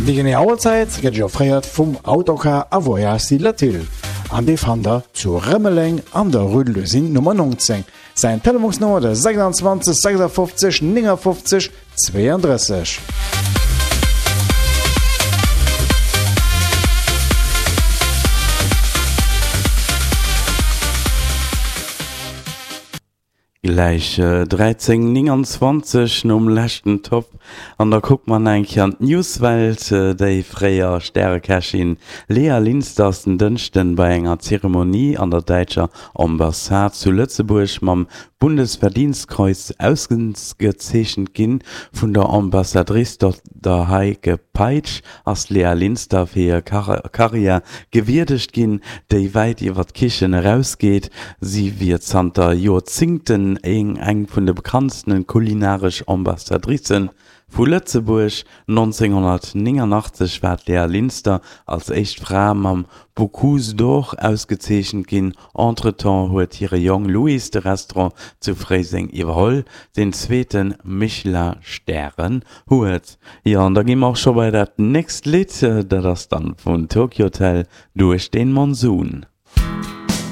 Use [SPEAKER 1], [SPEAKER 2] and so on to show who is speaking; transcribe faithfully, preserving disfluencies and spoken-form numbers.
[SPEAKER 1] Déi genee Auerzäit gëtt Iech offréiert vum Autocar a Voyages Latil an dee fannt der zu Rëmeleng an der Rue de l'Usine Nummer neunzéng. Säin Telefonsnummer de sechsundzwanzeg sechsundfünfzig neunundfünfzig zweiunddrësseg.
[SPEAKER 2] Gläich dräizéng nénganzwanzeg nom leschten Top an da kucke mer nach eng Kéier an d'Newswelt. Déi fréier Stärekächin Lea Linster ass den Dënschden bei enger Zeremonie an der däitscher Ambassade zu Lëtzebuerg mam Bundesverdienstkreuz ausgezeechent ginn. Vun der Ambassadrice der Heike Peitsch ass d'Lea Linster fir hir Karriär gewierdegt ginn, déi wäit iwwer d'Kichen erausgeet. Si wier zanter Joerzéngten eng vun de bekanntste kulinaresch Ambassadricë vu Lëtzebuerg. nonzénghonnertnénganachtzeg war d'Lea Linster als éischt Fra mam Bocuse d'Or ausgezeechent ginn. Entretemps huet hire Jong Louis de Restaurant zu Fréiseng iwwerholl, deen zweete Michelin-Stären huet. Jo, an da gi mer och scho bei dat nächst Lidd, dat ass dann vun Tokio Hotel, Durch den Monsun.